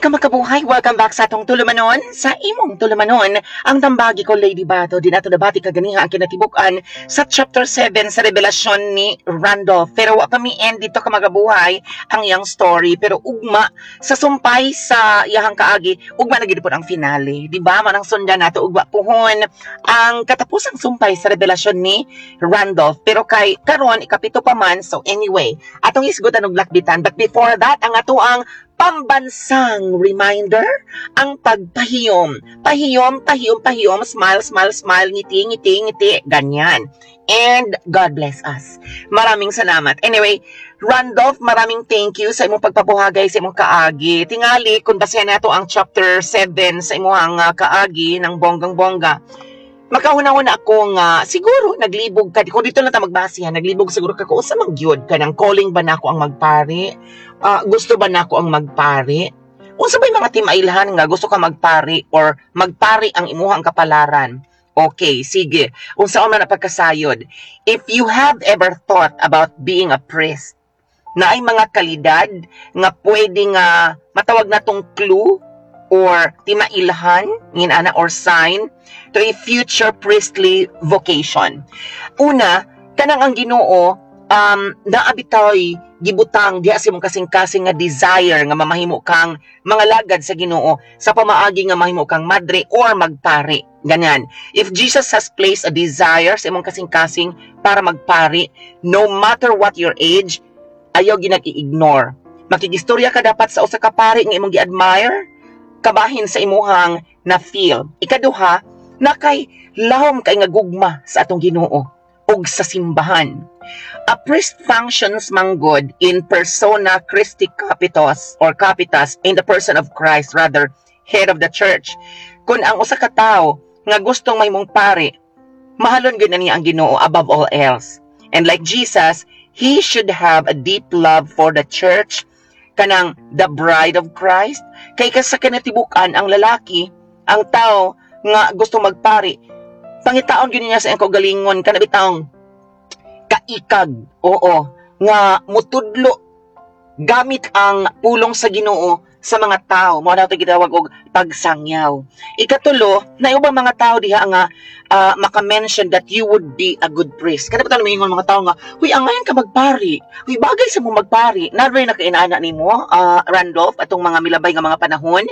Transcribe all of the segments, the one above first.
Ka makabuhay, welcome back sa atong tulumanon, sa imong tulumanon, ang Tambagi Ko, Lady Bato. Di nato nabati kaganiha ang kinatibuk-an sa chapter 7 sa revelasyon ni Randolph. Pero wa pa mi end dito, ka magabuhay, ang iyang story. Pero ugma, sa sumpay sa iyahang kaagi, ugma na gid ang finale. Di ba? Manang sundan nato ugma puhon ang katapusang sumpay sa revelasyon ni Randolph. Pero kay karon ikapito pa man, so anyway, atong isgutan og lakbitan. But before that, ang ato ang pambansang reminder, ang pagpahiyom. Pahiyom, pahiyom, pahiyom, smile, smile, smile, ngiti, ngiti, ngiti, ganyan. And God bless us. Maraming salamat. Anyway, Randolph, maraming thank you sa imong pagpabuhagay sa imong kaagi. Tingali, kung basehan nato ang chapter 7 sa imong kaagi ng bonggang-bongga, makahuna-huna ako nga siguro naglibog ka. Kung dito na ta magbase ha, naglibog siguro ka kung usa man gyud ka ng calling ba nako ang magpari, gusto ba nako ang magpari, unsa ba mga timailhan nga gusto ka magpari or magpari ang imuhang kapalaran. Okay, sige, unsa man na pagkasayod, if you have ever thought about being a priest, na ay mga kalidad nga pwede nga matawag na tong clue or timailhan ngin ana or sign to a future priestly vocation. Una, kanang ang Ginoo naa bitaw'y gibutang diha sa imong kasing-kasing nga desire nga mamahimo kang mga lagad sa Ginoo sa pamaagi nga mahimo kang madre or magpari. Ganyan. If Jesus has placed a desire sa imong kasing-kasing para magpari, no matter what your age, ayaw ginag-i-ignore. Makigistorya ka dapat sa usa ka pari nga imong gi-admire, kabahin sa imuhang na feel. Ikaduha, na kay lahom kay nga gugma sa atong Ginoo ug sa simbahan. A priest functions manggod in persona Christi capitos or capitas, in the person of Christ rather, head of the church. Kung ang usa ka tawo nga gustong mahimong pari, mahalon gyud na niya ang Ginoo above all else. And like Jesus, he should have a deep love for the church, kanang the bride of Christ. Kay ka sa kinatibukan ang lalaki, ang tao nga gusto magpari, pangitaon gyud niya sa iyang kaugalingon kana bitawng kaikag, oo, nga mutudlo gamit ang pulong sa Ginoo sa mga tao. Mao na ito gitawag og pagsangyaw. Ikatulo, na ubang mga tao diha nga maka-mention that you would be a good priest. Kada ba moingon mga tao nga, "Huy, angayan ka magpari. Huy, bagay sa mo magpari." Naa na kainana nimo, Randolph, atong mga milabay nga mga panahon.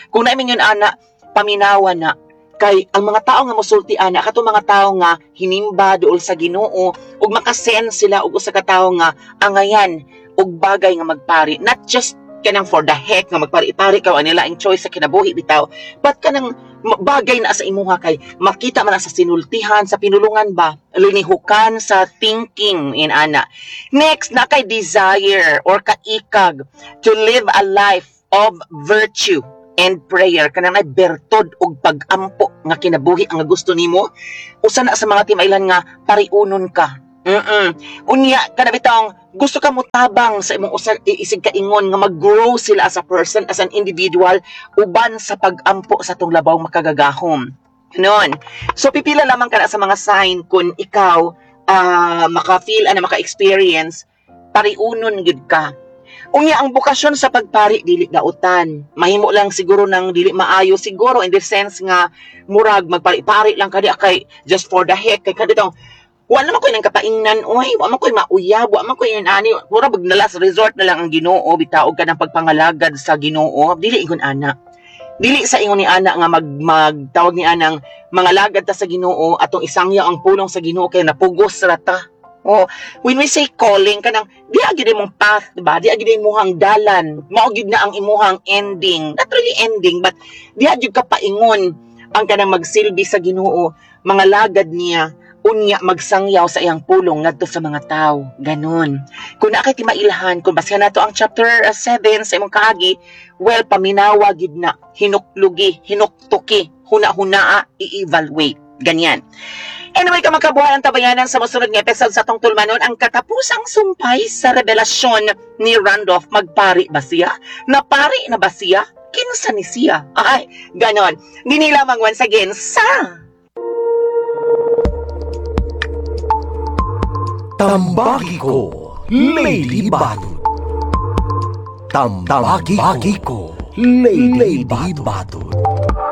Kung naay ingon ana, paminawa na kay ang mga tao nga mosulti ana katong mga tao nga hinimba duol sa Ginoo ug makasense sila og usa ka tawo nga angayan og bagay nga magpari, not just kanang for the heck nga magpari-pari ka nila ang choice sa kinabuhi bitaw, but kanang bagay na sa imuha kay makita man na sa sinultihan, sa pinulungan ba, linihukan sa thinking in ana. Next, na kay desire or kaikag to live a life of virtue and prayer, kanang ay bertod og pag-ampo nga kinabuhi ang gusto nimo, usa na sa mga timailan nga pariunon ka. Unya kana bitawng gusto ka motabang sa imong usa isig kaingon nga mag-grow sila as a person, as an individual, uban sa pag-ampo sa tong labaw makagagahom. Ganon. So pipila lamang ka na sa mga sign kung ikaw maka-feel ana, maka-experience pariunon gyud ka. Unya ang bokasyon sa pagpari dili dautan. Mahimo lang siguro ng dili maayo siguro in the sense nga murag magpari-pari lang ka di kay just for the heck, kay kadtong wala man koy nang kapaingnan oy, wa man koy mauyab, wa man koy ani, mura bag na last resort na lang ang Ginoo bitaw ka ng pagpangalagad sa Ginoo. Dili ingon ana. Dili sa ingon ni ana nga mag magtawag ni anang mga lagad ta sa Ginoo, atong isangyaw ang pulong sa Ginoo kay napugos ra ta. Oh, when we say calling, kanang di gyud imong path, di ba? Di gyud imuhang dalan. Mao gyud na ang imuhang ending. Not really ending, but di gyud ka paingon ang kanang magsilbi sa Ginoo, mga lagad niya, unya magsangyaw sa iyang pulong ngadto sa mga tao. Ganon. Kung naa kay timailhan, kung basihan nato ang chapter 7 sa imong kaagi, well, paminawa gid na, hinuklugi, hinuktuki, huna-hunaa, i-evaluate. Ganyan. Anyway, kamakabuhay ang tabayanan sa mosunod nga episode sa atong tulmanon, ang katapusang sumpay sa revelasyon ni Randolph. Magpari ba siya? Napari na ba siya? Kinsa ni siya? Ay, ganon. Dini lamang once again sa Tambagi Ko, Lady Bato. Tambagi Ko, Lady, Lady Bato.